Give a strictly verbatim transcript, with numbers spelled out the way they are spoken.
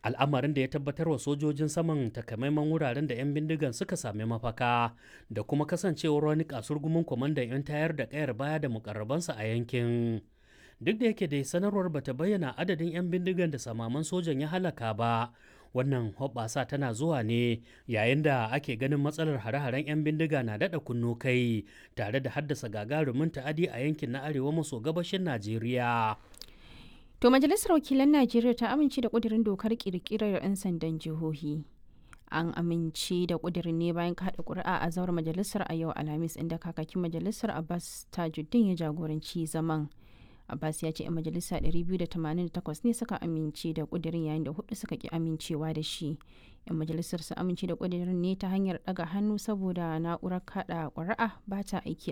Al'amarin da ya tabbatar wa sojojin saman takamaiman wuraren da 'yan bindigan suka sami mafaka da kuma kasancewar wani kasurgumin kwamandan 'yan tayar da kayar baya da mukarrabansa a yankin. Duk da yake dai sanarwar bata bayyana adadin 'yan bindigan da samaman sojan ya halaka ba. Wannan hoɓɓasa tana zuwa ne yayin da ake ganin matsalar hare-haren 'yan bindiga na daɗa kunno kai tare da haddasa gagarumin ta'adi a yankin na arewa maso gabashin Najeriya. To Majalisar Wakilan Najeriya ta amince da ƙudurin dokar ƙirƙirar 'yan sandan jihohi. An amince da ƙudurin ne bayan kaɗa ƙuri'a a zauren majalisar a yau Alhamis, inda kakakin majalisar Abbas Tajuddin ya jagoranci zaman. Abbas ya ce 'yan majalisa ɗari biyu da tamanin da takwas ne suka amince da ƙudurin, yayin da hudu suka ki amincewa da shi. 'Yan majalisar su amince da ƙudurin ne ta hanyar ɗaga hannu saboda na'urar kaɗa ƙuri'a ba ta aiki.